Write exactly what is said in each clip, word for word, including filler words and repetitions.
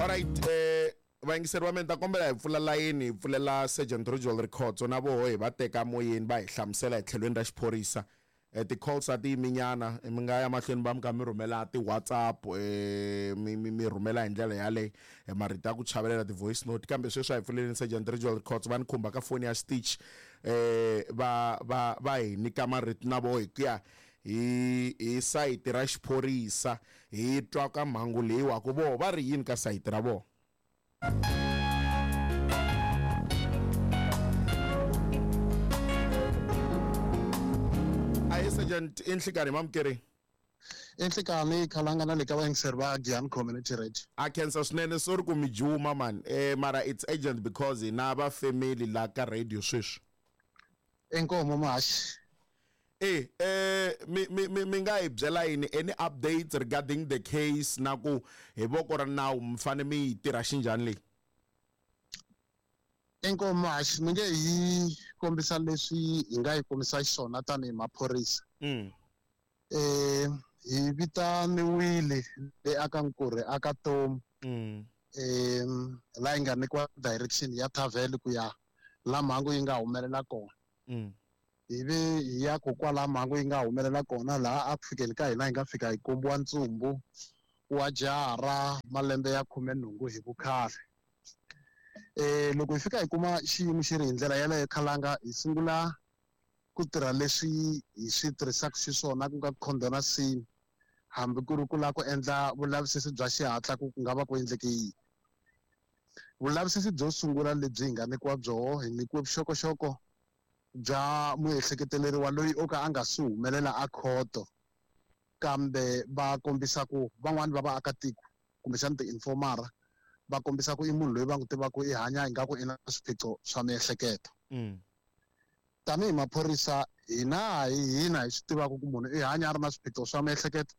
All right, eh vayingiseri va mina ta kombela hi pfula layeni hi pfulela Sergeant Ridgewell Rikhotso na voho hi va teka moyeni va hi hlamusela hi tlhelweni ra xiphorisa. Eh, ti-calls a ti yiminyana mi nga ya mahlweni va mi kha mi rhumela ti-WhatsApp eh, mi mi mi rhumela hi ndlela yaleyo eh, marito ya ku chavelela ti-voice note kambe sweswi a hi pfuleleni Sergeant Ridgewell Rikhotso va ni khumba ka foni ya Stitch eh, va va va hi nyika marito na voho hi ku ya hi hi sayiti ra xiphorisa hi twa ka mhangu leyiwa ku voho va ri yini ka sayiti ra vona. Ahe Sergeant, i nhlikani mamukeri. I nhlikani khalanga na le ka vayingiseri va Giyani Community Radio. A khensa swinene sorry ku mi juma man eh mara it's urgent because hina va family la ka radio sweswi. Inkomo mahaxi. Eh eh mi mi mi mi nga hi byela yini any updates regarding the case na ku hi voko ra nawu mi fane mi yi tirha xinjhani leyi? Inkomo mahaxi, mi nge hi kombisa leswi hi nga yi kombisa xiswona tanihi maphorisa. Mm. Eh hi vitaniwile le aka Nkurhe aka Tomu. Mm. Eh la hi nga nyikiwa direction ya thavhele ku ya la mhangu yi nga humelela kona. Mm. Hi ve hi ya ku kwala mhangu yi nga humelela kona laha a ku fikeni ka hina hi nga fika hi kombiwa ntsumbu wa jaha ra malembe ya khume nhungu hi vukhale. Eh loko hi fika hi kuma xiyimo xi ri hi ndlela yaleyo khalanga hi sungula ku tirha leswi hi swi tirhisaka xiswona ku nga condona scene hambi ku ri ku lava ku endla vulavisisi bya xihatla ku ku nga va ku endleke yini. Vulavisisi byo sungula lebyi hi nga nyikiwa byoho hi nyikiwe vuxokoxoko bya muehleketeleriwa loyi o ka a nga si humelela a khoto kambe va kombisa ku van'wani va vaakatiko kumbexana ti-informara va kombisa ku i munhu loyi va n'wi tivaka i hanya ingaku i na swiphiqo swa miehleketo. Mm. Tanihi maphorisa hina hi hina hi swi tivaka ku munhu i hanya a ri na swiphiqo swa miehleketo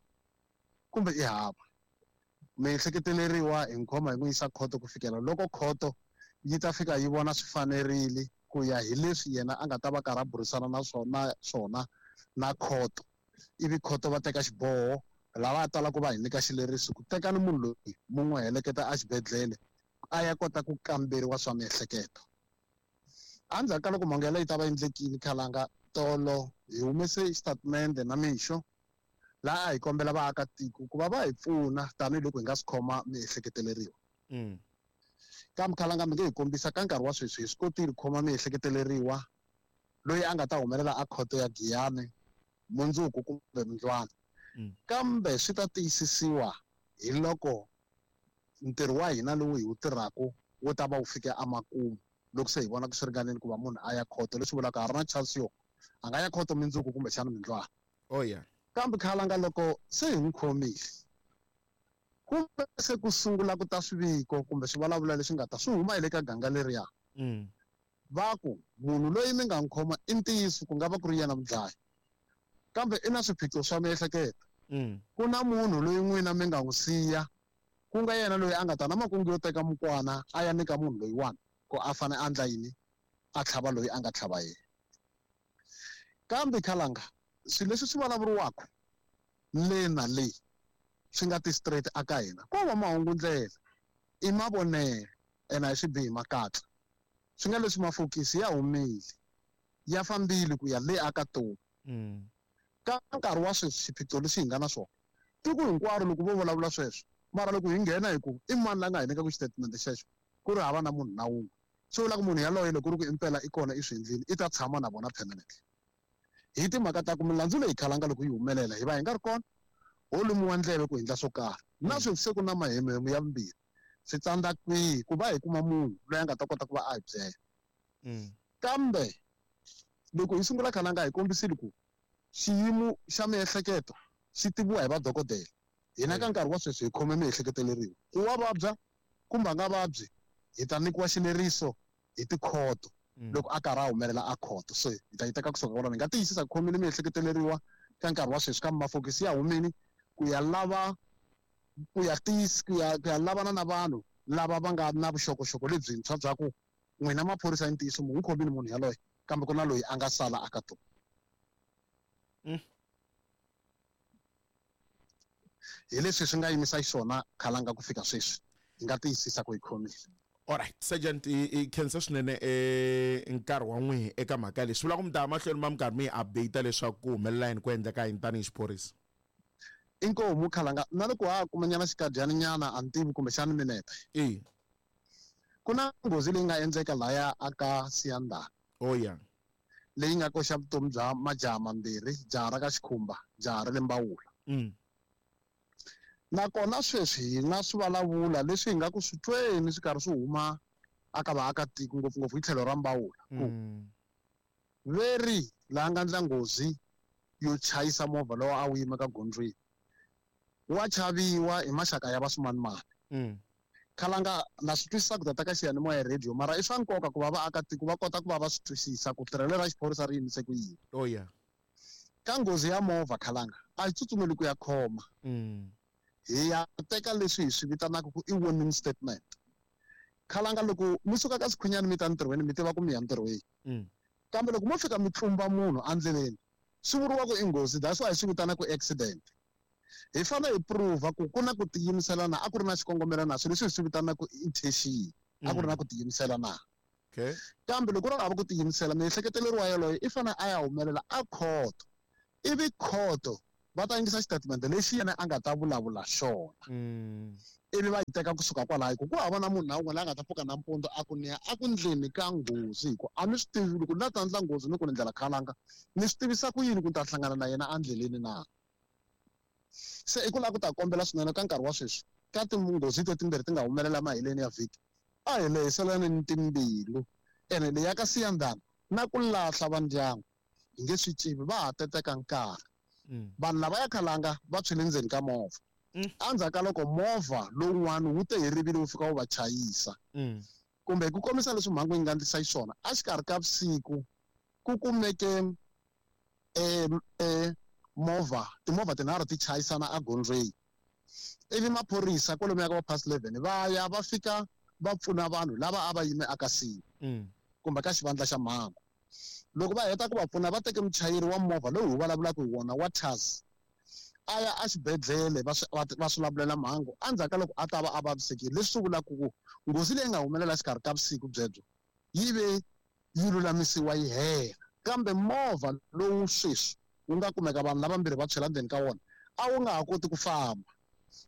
kumbe i hava. Miehleketeleriwa hi n'wi khoma hi n'wi yisa khoto ku fikela loko khoto yi ta fika yi vona swi fanerile ku ya hi leswi yena a nga ta va karhi a burisana na swona swona na khoto. Ivi khoto va teka xiboho lava talaka va hi nyika xileriso ku tekani munhu loyi mu n'wi heleketa exibedhlele a ya kota ku kamberiwa swa miehleketo. Endzhaku ka loko mhangu yaleyo yi ta va endlekile khalanga tolo hi humese xitatimende na mixo laha a hi kombela vaakatiko ku va va hi pfuna tanihiloko hi nga swi khoma miehleketeleriwa. Mm. Kambe khalanga mi nge hi kombisa ka nkarhi wa sweswi hi swi kotile ku khoma miehleketeleriwa loyi a nga ta humelela a khoto ya Giyani mundzuku kumbe mundlwana. Mm. Kambe swi ta tiyisisiwa hi loko ntirho wa hina lowu hi wu tirhaka wu ta va wu fike emakumu loko se hi vona ku swi ringanile ku va munhu a ya khoto leswi vulaka ha ri na chance yo a nga ya khoto mundzuku kumbexana mundlwana. Oh yeah. Kambe khalanga loko se hi n'wi khomile kumbe se ku sungula ku ta swiviko kumbe swivulavula leswi nga ta swi huma hi le ka ganga leriya. Mm. Va ku munhu loyi mi nga n'wi khoma i ntiyiso ku nga va ku ri yena mudlayi kambe i na swiphiqo swa miehleketo. Mm. Ku na munhu loyi n'wina mi nga n'wi siya ku nga yena loyi a nga ta na makungu yo teka mukwana a ya nyika munhu loyiwani ku a fane a endla yini a tlhava loyi a nga tlhava yena. Kambe khalanga swilo leswi swi vulavuriwaka le na le swi nga ti straight aka hina ko va mahungu ndlela i mavonelo ene a hi swi bihi makatla swi nga leswi mafokisi ya humile ya fambile ku ya le aka Tomu. Mm. Ka nkarhi wa sweswi xiphiqo lexi hi nga na swona tiko hinkwaro loko vo vulavula sweswo mara loko hi nghena hi ku i mani la nga hi nyikaka xitatimende xexo ku ri hava na munhu na wun'we swi vula ku munhu yaloye loko ku ri ku impela i kona i swi endlile i ta tshama na vona permanently. Hi timhaka ta ku milandzu leyi khalanga loko yi humelela hi va hi nga ri kona ho lumiwa ndleve ku endla swo karhi na sweswi se ku na mahemuhemu ya vumbirhi swi tsandza kwihi ku va hi kuma munhu loyi a nga ta kota ku va a hi byela. Mm. Kambe loko hi sungula khalanga hi kombisile ku xiyimo xa miehleketo xi tiviwa hi vadokodela. Hina ka nkarhi wa sweswi hi khome miehleketeleriwa ku wa vabya kumbe a nga vabyi hi ta nyikiwa xileriso hi tikhoto Mm. loko a karhi a humelela a khoto. So hi ta yi teka kusuka kwalano hi nga tiyisisa ku khomile miehleketeleriwa ka nkarhi wa sweswi kambe mafokisi ya humile ku ya lava ku ya tiyisa ku ya ku ya lavana na vanhu lava va nga na vuxokoxoko lebyintshwa bya ku n'wina maphorisa ya ntiyiso mu n'wi khomile munhu yaloye kambe ku na loyi a nga sala aka tona. Mm. Hi leswi swi nga yimisa xiswona khalanga ku fika sweswi. Hi nga tiyisisa ku hi khomile. Alright, Sergeant, i khensa swinene eh nkarhi wa n'wihi eka mhaka leyi. Swi vula ku mi ta ya mahlweni ma mi karhi mi yi update leswaku ku humelela yini ku endleka yini tanihi xiphorisa. Inkomu Khalanga, na loko ha kumanyana xikadyana nyana a ni tivi kumbexana minete. E. Ku na nghozi leyi nga endleka laya aka Siyandhani. Oh yeah. Leyi nga koxa vutomi bya majaha mambirhi, jaha ra ka Xikhumba, jaha ra le Mbawula. Mm. Nakona sweswi hi na swivulavula leswi hi nga ku swi tweni swi karhi swi huma aka vaakatiko ngopfungopfu hi tlhelo ra Mbawula. Ku Mm. veri laha nga ndla nghozi yo chayisa movha lowu a wu yima ka gondzweni wa chaviwa hi maxaka ya vasumanimani. Mm. Khalanga na swi twisisa ku tata ka xiyanimoya radio, mara i swa nkoka ku va vaakatiko va kota ku va va swi twisisa ku tirhelo ra xiphorisa ri yimise ku yini. Oh yeah. Ka nghozi ya movha Khalanga a hi tsutsumeli ku ya khoma. Mm. Hi ya teka leswi hi swi vitanaka ku i warning statement. Khalanga loko mi suka ka Sikhunyani mi ta ntirhweni mi tiva ku mi ya ntirhweni. Mm. Kambe loko mo fika mi tlumba munhu endleleni swi vuriwa ku i nghozi, that's why hi swi vitanaka ku accident. Hi fanele hi prove ku ku na ku tiyimisela na a ku ri na xikongomelo na swilo leswi hi swi vitanaka ku intention, a ku ri na ku tiyimisela na. Okay. Kambe loko ri hava ku tiyimisela, miehleketeleriwa yaloye i fanele a ya humelela a khoto. Ivi khoto va ta yingisa xitatimende lexi yena a nga ta vulavula xona. Mm. Ivi va yi teka kusuka kwalaho, hi ku ku hava na munhu na un'we la nga ta pfuka nampundzu a ku ni ya a ku ndleni ka nghozi, hi ku a ni swi tivi loko ni la ta ndla nghozi ni ku ni ndlela Khalanga, ni swi tivisa ku yini ku ni ta hlangana na yena endleleni na. Se i ku lava ku ta kombela swinene ka nkarhi wa sweswi ka tinghozi te timbirhi ti nga humelela maheleni ya vhiki, a hi lehiselaneni timbilu. Ene leyi ya ka Siyandhani na ku lahla va ndyangu hi nge swi civi, va ha teteka nkarhi. Mm. Vanhu lava ya Khalanga va tshwile ndzeni ka movha. Mm. Endzhaku ka loko movha lowun'wana wu te hi rivilo wu fika wu va chayisa. Mm. Kumbe hi ku kombisa leswi mhangu yi nga ndlisa xiswona, exikarhi ka vusiku ku kumeke, eh, eh, movha, timovha tinharhu ti chayisana egondzweni. Ivi maphorisa kwalomuya ka va past eleven va ya va fika va pfuna vanhu lava a va yime aka siku Mm. kumbe ka xivandla xa mhangu. Loko va heta ku va pfuna va teke muchayeri wa movha lowu hi vulavulaka hi wona wa Taz a ya exibedhlele va swi, va, va swi lamulela mhangu endzhaku ka loko a ta va a vavisekile. Leswi swi vulaka ku nghozi leyi nga humelela exikarhi ka vusiku byebyo yi ve yi lulamisiwa yi hela, kambe movha lowu sweswi wu nga kumeka vanhu lavambirhi va tshwela ndzeni ka wona a wu nga ha koti ku famba.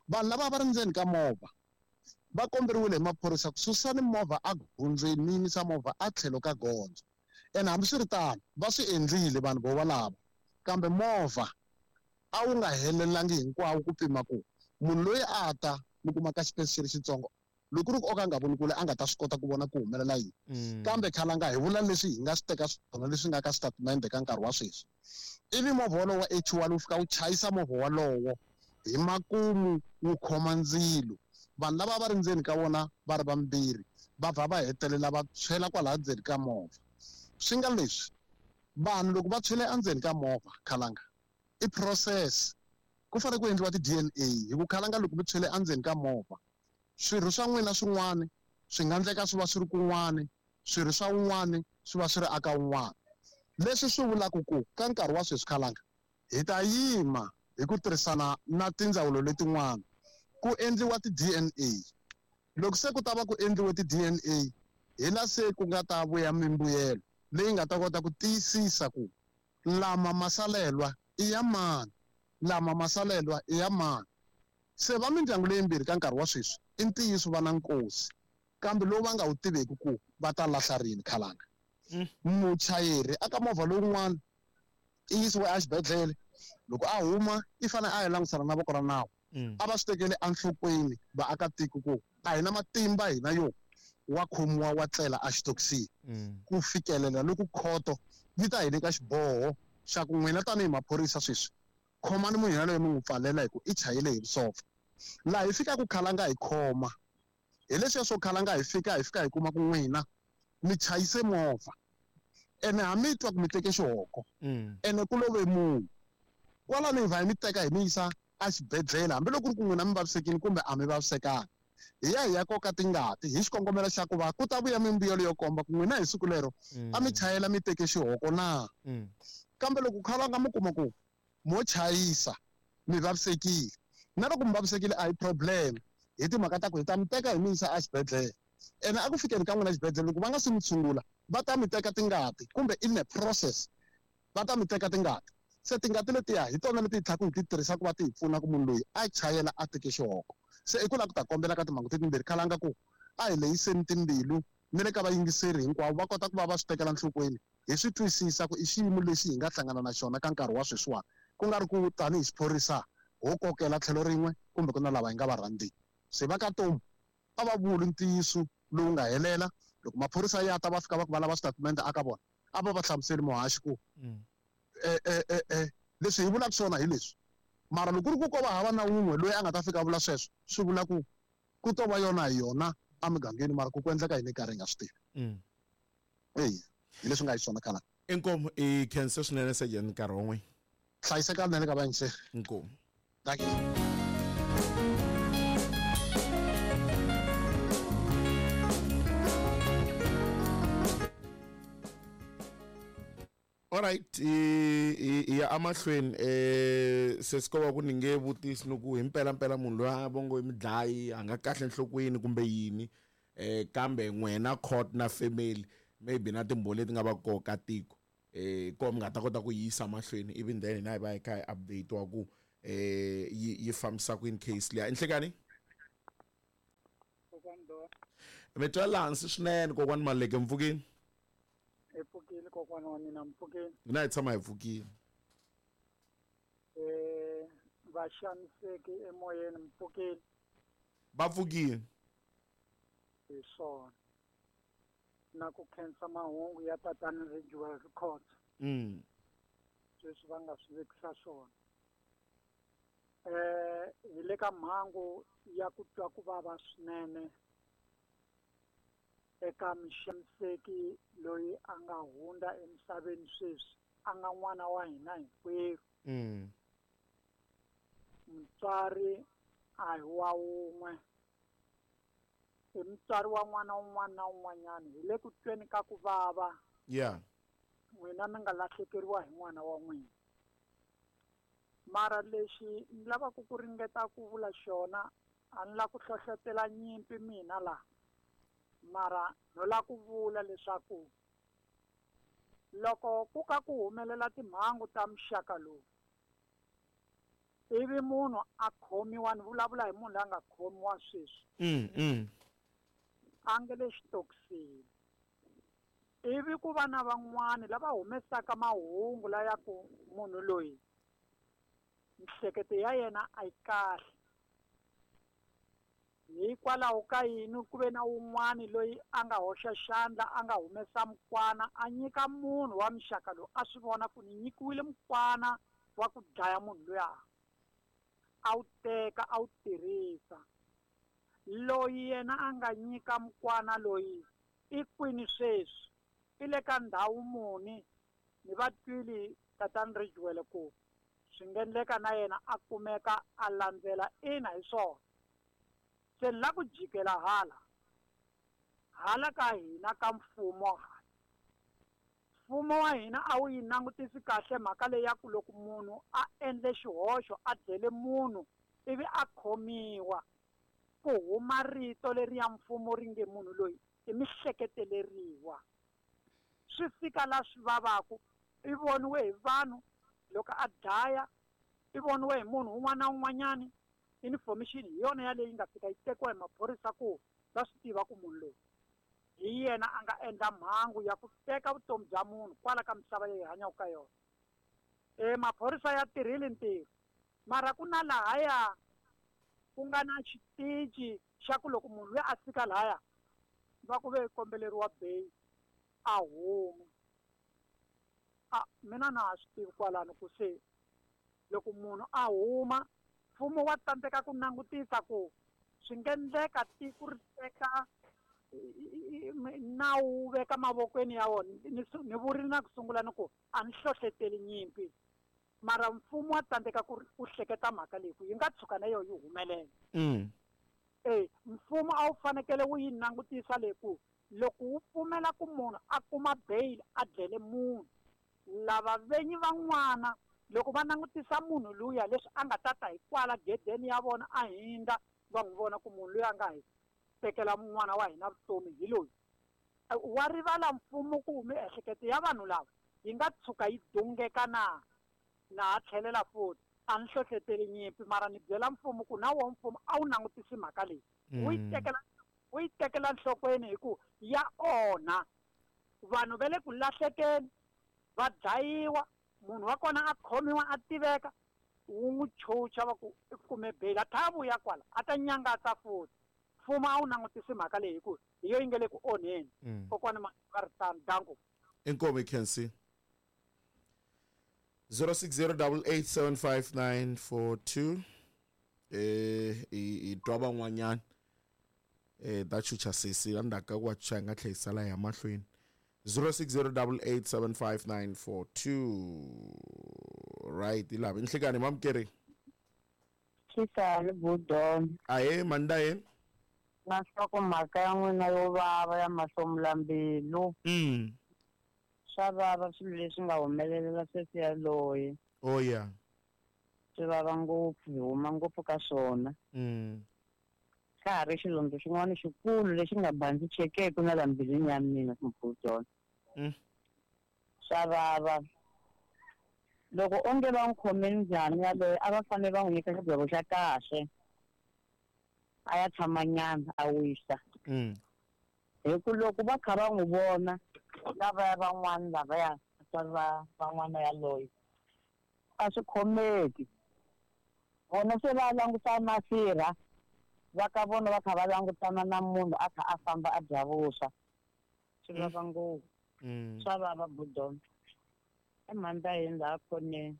Vanhu lava va ri ndzeni ka movha va komberiwile hi maphorisa ku susani movha egondzweni mi yimisa movha a tlhelo ka gondzo. Ene hambiswiritano va swi endlile vanhu vo valava, kambe movha a wu nga helelangi hinkwawo ku pima ku munhu loyi a ta mi kuma ka xipesi xi ri xitsongo loko ri ku o ka nga voni kule a nga ta swi kota ku vona ku humelela yini. Mm. Kambe Khalanga hi vula leswi hi nga swi teka swona leswi nga ka xitatimende ka nkarhi wa sweswi. Ivi movha wolowo wa H one wu fika wu chayisa movha wolowo hi makumu wu khoma ndzilo. Vanhu lava va ri ndzeni ka wona va ri vambirhi va vha va hetelela va tshwela kwalaya ndzeni ka movha. Swi nga leswi vanhu loko va tshwele endzeni ka movha Khalanga i process, ku fanele ku endliwa ti D N A hi ku Khalanga loko mi tshwele endzeni ka movha swirho swa n'wina swin'wana swi nga endleka swi va swi ri kun'wana, swirho swa un'wana swi va swi ri aka un'wana. Leswi swi vulaka ku ka nkarhi wa sweswi Khalanga hi ta yima hi ku tirhisana na tindzawulo letin'wana ku endliwa ti D N A. Loko se ku ta va ku endliwe ti D N A hi la se ku nga ta vuya mimbuyelo leyi nga ta kota ku tiyisisa ku lama masalelwa i ya mani, lama masalelwa i ya mani. Se va mindyangu leyimbirhi ka nkarhi wa sweswi i ntiyiso va na nkosi, kambe lowu va nga wu tiveki ku va ta lahla rini Khalanga. Mm. Muchayeri aka movha lowun'wana i yisiwe exibedhlele, loko a huma i fanele a ya langutisana na voko ra nawu. Mm. A va swi tekele enhlokweni vaakatiko ku a hi na matimba hina yo wa khomiwa wa tlela exitokisini. Mm. Ku fikelela loko khoto yi ta hi nyika xiboho xa ku n'wina tanihi maphorisa sweswi khomani munhu yaloye mi n'wi pfalela hi ku i chayele hi vusopfa. Laha hi fikaka Khalanga hi khoma hi leswiya swo Khalanga hi fika hi fika hi kuma ku n'wina mi chayise movha ene ha mi twa ku mi teke xihoko Mm. ene ku love munhu kwalano hi va hi mi teka hi mi yisa exibedhlele hambiloko ku ri ku n'wina mi vavisekile kumbe a mi vavisekanga. Hi ya hi ya koka tingati hi xikongomelo xa ku va ku ta vuya mimbuyelo yo komba ku n'wina hi siku lero a mi Mm. chayela mi teke xihoko na. Mm. Kambe loko Khalanga mi kuma ku mo chayisa mi vavisekile, na loko mi vavisekile a hi problem, Hi timhaka ta ku hi ta mi teka hi mi yisa exibedhlele. Ene a ku fikeni ka n'wina exibedhlele loko va nga se mi tshungula va ta mi teka tingati kumbe in a process va ta mi teka tingati. Se tingati letiya hi tona leti hi tlhaka hi ti tirhisa ku va ti hi pfuna ku munhu loyi a chayela a teke xihoko. Se i ku lava ku ta kombela ka timhangu letimbirhi khalanga ku a hi leyiseni timbilu ni le ka vayingiseri hinkwavo va kota ku va va swi tekela nhlokweni hi swi twisisa ku i xiyimo lexi hi nga hlangana na xona ka nkarhi wa sweswiwani ku nga ri ku tanihi xiphorisa ho kokela tlhelo rin'we kumbe ku na lava hi nga va rhandziki. Se va ka Tomu a va vuli ntiyiso lowu nga helela loko maphorisa ya ta va fika va ku va lava switatimende aka vona a va va hlamuseli muhaxi ku eh eh eh eh leswi hi vulaka swona hi leswi mara loko ku ri ku ko va hava na wun'we loyi a nga ta fika a vula sweswo swi vula ku ku to va yona hi yona emugangeni mara ku ku endleka yini karhi hi nga swi tivi. Eya hi leswi nga hi swona khala. Inkomu i khensa swinene Sergeant nkarhi wun'we. Hlayiseka nene ka vayingiseri. Inkomu. Thank you. All right, i ya amahlweni eh sesiko ku ni nge vutisi ku hi mpela mpela munhu loyi a vongo i mudlayi a nga kahle enhlokweni kumbe yini eh kambe n'wena court na family maybe na timbhoni leti nga va koka tiko eh ko mi nga ta kota ku yisa mahlweni even then hina hi va hi kha hi update wa ku eh yi yi fambisa ku in case liya enhlekani mi twa laha hansi swinene kokwani Maleke mpfukini. Hi pfukile kokwana wa mina mpfukile. Mina hi tshama hi pfukile. Eh va xaniseki emoyeni mpfukile. Va pfukile. Hi swona. Na ku khensa mahungu ya tatana Ridgewell Records. Mm. Sweswi va nga swi vekisa swona. Eh hi le ka mhangu ya ku twa ku vava swinene eka muxaniseki loyi a nga hundza emisaveni sweswi a nga n'wana wa hina hinkwerhu. Mm. Mutswari a hi wa wun'we i mutswari wa n'wana un'wana na un'wanyana hi le ku tweni ka ku vava. Yeah. N'wina mi nga lahlekeriwa hi n'wana wa n'wina. Mara lexi ni lavaka ku ringeta ku vula xona a ni lava ku hlohlotela nyimpi mina laha. Mara no la ku vula leswaku loko ku ka ku humelela timhangu ta muxaka lowu ivi munhu a khomiwa ni vulavula hi munhu loyi a nga khomiwa sweswi mm, mm. a nge le xitokisini ivi ku va na van'wani lava humesaka mahungu laya ku munhu loyi mihleketo ya yena a yi kahle hikwalaho ka yini ku ve na wun'wani loyi a nga hoxa xandla a nga humesa mukwana a nyika munhu wa muxaka lowu a swi vona ku ni nyikiwile mukwana wa ku dlaya munhu luya a wu teka a wu tirhisa loyi yena a nga nyika mukwana loyi i kwini sweswi i le ka ndhawu muni ni va twile tatana Ridgewell ku swi nga endleka na yena a kumeka a landzela ina hi swona. Se ni la ku jikela hala hala ka hina ka mfumo hala mfumo wa hina a wu yi langutisi kahle mhaka leyi ya ku loko munhu a endle xihoxo a dlele munhu ivi a khomiwa ku huma rito leri ya mfumo ri nge munhu loyi i mihleketeleriwa swi fika la swi vavaku i voniwe hi vanhu loko a dlaya i voniwe hi munhu un'wana na un'wanyani information hi yona yaleyi nga fika yi tekiwa hi maphorisa ku va swi tiva ku munhu loyi hi yena a nga endla mhangu ya ku teka vutomi bya munhu kwala ka misava leyi hanyaka ka yona. E maphorisa ya tirhile ntirho mara ku na lahaya ku nga na xitici xa ku loko munhu loyi a fika lahaya va ku ve kombeleriwa bail a huma. A mina na ha swi tivi kwalano ku se loko munhu a huma mfumo wa tsandzeka ku langutisa ku swi nga endleka tiko ri teka nawu wu veka mavokweni ya wona ni vurile na ku sungula ni ku a ni hlohleteli nyimpi mara mfumo wa tsandzeka ku ku hleketa mhaka leyi ku yi nga tshuka na yona yi humelela. Mm. E mfumo a wu fanekele wu yi langutisa leyi ku loko wu pfumela ku munhu a kuma bail a dlele munhu lava venyi van'wana loko va langutisa munhu luya leswi a nga tata hi kwala gedeni ya vona a hindza Va n'wi vona ku munhu loyi a nga hi tekela n'wana wa hina vutomi hi loyi. Wa rivala mfumo ku miehleketo ya vanhu lava yi nga tshuka yi dungeka na na ha tlhelela futhi. A ni hlohleteli nyimpi mara ni byela mfumo ku na wona mfumo a wu langutisi mhaka leyi. Wu yi tekela wu yi tekela nhlokweni hi ku ya onha. Vanhu va le ku lahlekeni va dlayiwa, munhu wa kona a khomiwa a tiveka, wu n'wi chucha va ku i kume bail a tlhela a vuya kwala a ta nyangatsa futhi. Mfumo a wu langutisi mhaka leyi hi ku hi yo yi nga le ku onheni. Kokwana va ri tano, danko. Inkomu Khensi. zero six zero double eight seven five nine four two. Eh i twa van'wanyana eh ta chucha sesi endzhaku ka ku va chucha hi nga tlhela hi sala hi ya mahlweni. zero six zero double eight seven five nine four two. Right, ilava inhlekani mamkeri. Xisani budon. Ahe mandaye. Na nhloko mhaka ya n'wina yo vava ya mahlomulambilu. Mm. Swa vava swilo leswi nga humelelela sesi yaloye. Oh yeah. Swi vava ngopfu, hi huma ngopfu ka swona. Mm. Xa ha ri xilondza xin'wana xikulu lexi nga bandzi chekeke na la mbilwini ya mina Mbudon. Mm. Swa vava. Loko onge va n'wi khome njhani yaloye a va fanele va n'wi nyika xigwevo xa kahle. A ya tshama nyana a wisa. Mm. Hi ku loko va kha va n'wi vona lavaya van'wana lavaya vatswari va van'wana yaloye a swi khomeki. Vona se va langutana na sirha va ka vona va kha va langutana na munhu a kha a famba a dya vuswa. Swi vava ngopfu. Swa vava Budon. I mhanda yini laha khoneni.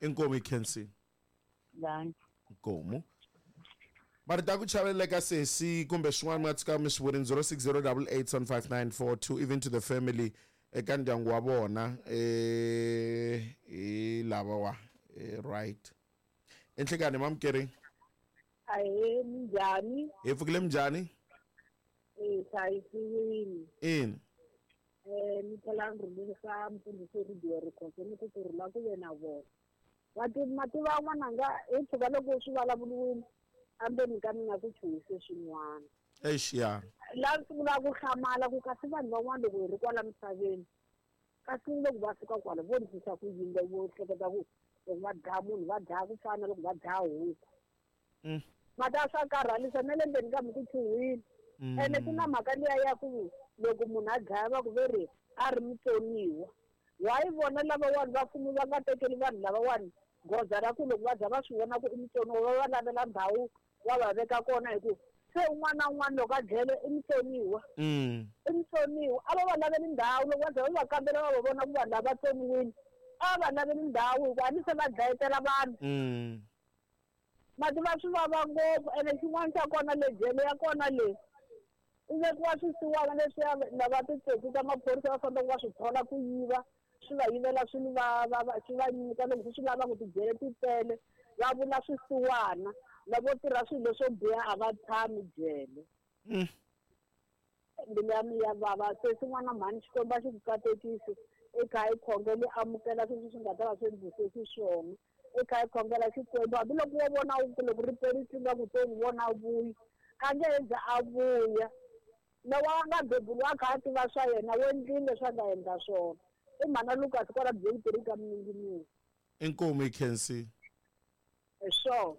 Inkomu Khensi. Danki. Inkomu. Marito ya ku chavelela sesi kumbe swin'wana mi nga tshuka mi swi vurini zero six zero double eight seven five nine four two even to the family eka ndyangu wa vona eh hi lava wa right. Enhlekani mamkeri. Ahe minjhani? Hi pfukile minjhani? Eh hlayisiwile. Ina. Eh ni tlhela ni rhumisa mfundhisi Radio Rikhotso ni ku kurhula ku ve na vona. Vati mativa n'wananga hi tshuka loko swi vulavuriwile endzeni ka mina ku chuhise swin'wana. Eish ya. Laha ni sungula ku hlamala ku kasi vanhu van'wana loko hi ri kwala misaveni kasi loko va fika kwala vo ndlisa ku yini vo hleketa ku loko va dlaya munhu va dlaya ku fana na loko va dlaya huku. Mm. Mata swa karhalisa na le ndzeni ka mi ku chuhile. Ene ku na mhaka liya ya ku loko munhu a dlaya va ku ve ri a ri mutsoniwa. Wa yi vona lavawani va mfumo va nga tekeli vanhu lavawani goza ra ku loko va za va swi vona ku i mutsoniwa va va lavela ndhawu va va veka kona hi ku se un'wana na un'wana loko a dlele i mutsoniwa. Mm. I mutsoniwa a va va laveli ndhawu loko va za va va kambela va va vona ku vanhu lava tsoniwile a va laveli ndhawu hikuva a ni se va dlayetela vanhu. Mm. Mati va swi vava ngopfu ene xin'wana xa kona le jele ya kona le i vekiwa swisiwana leswiya lava titsotsi ta maphorisa va fambaka va swi thola ku yiva swi va yivela swilo va va va swi va nyika loko swi lava ku tijele ti tele va vula swisiwana lavo tirha swilo swo biha a va tshami jele. Mm. Mbilu ya mina ya vava se swin'wana mhani Xikwembu a xi ku katekisi i kha i khongela i amukela sweswi swi nga ta va swi endlise xiswona. I kha i khongela Xikwembu hambiloko wo vona ku loko ri perile nga ku to n'wi vona a vuya a nge he za a vuya. Lowa a nga beburiwa a kha a tiva swa yena wo endlile leswi a nga endla swona. I mhana Lucas kwala Byentere ka Minginini. Inkomu Khensi. Hi swona.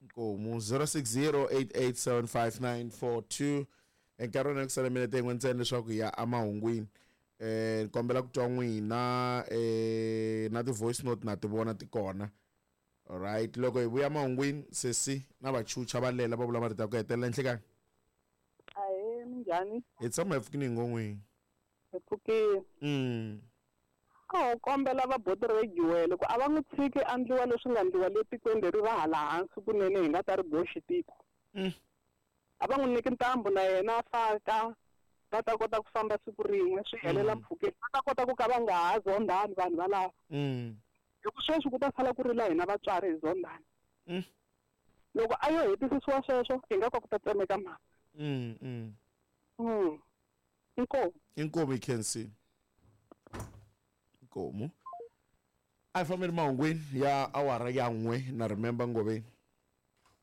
Inkomu zero six zero eight eight seven five nine four two. Enkarhini wa ku sala minete yin'we ntsena leswaku hi ya emahungwini. Eh ni kombela ku twa n'wina eh na ti-voice note na ti vona ti kona. Alright, loko hi vuya mahungwini sesi na vachucha va lela va vula marito ya ku hetelela enhlekani. Ahee minjhani? Hi tshama hi pfukile hi ngo n'wini. Hi pfukile. Mm. A ho kombela va boti Regiwele ku a va n'wi tshiki a ndliwa leswi nga ndliwa le tikweni leri ra hala hansi kunene hi nga ta ri boxi tiko. Mm. A va n'wi nyiki ntambu na yena a faka va ta kota ku famba siku rin'we swi helela Mm. mpfhukeni va ta kota ku ka va nga ha zondhani vanhu valava. Mm. Hi ku sweswi ku ta sala ku rila hina vatswari hi zondhani. Mm. Loko a yo hetisisiwa sweswo hi nga ka ku ta tsemeka mhaka. Mm, mm. Mm. Inkomu. Inkomu Khensi. Inkomu. A hi fambeni mahungwini ya awara ya n'we na remember Ngoveni.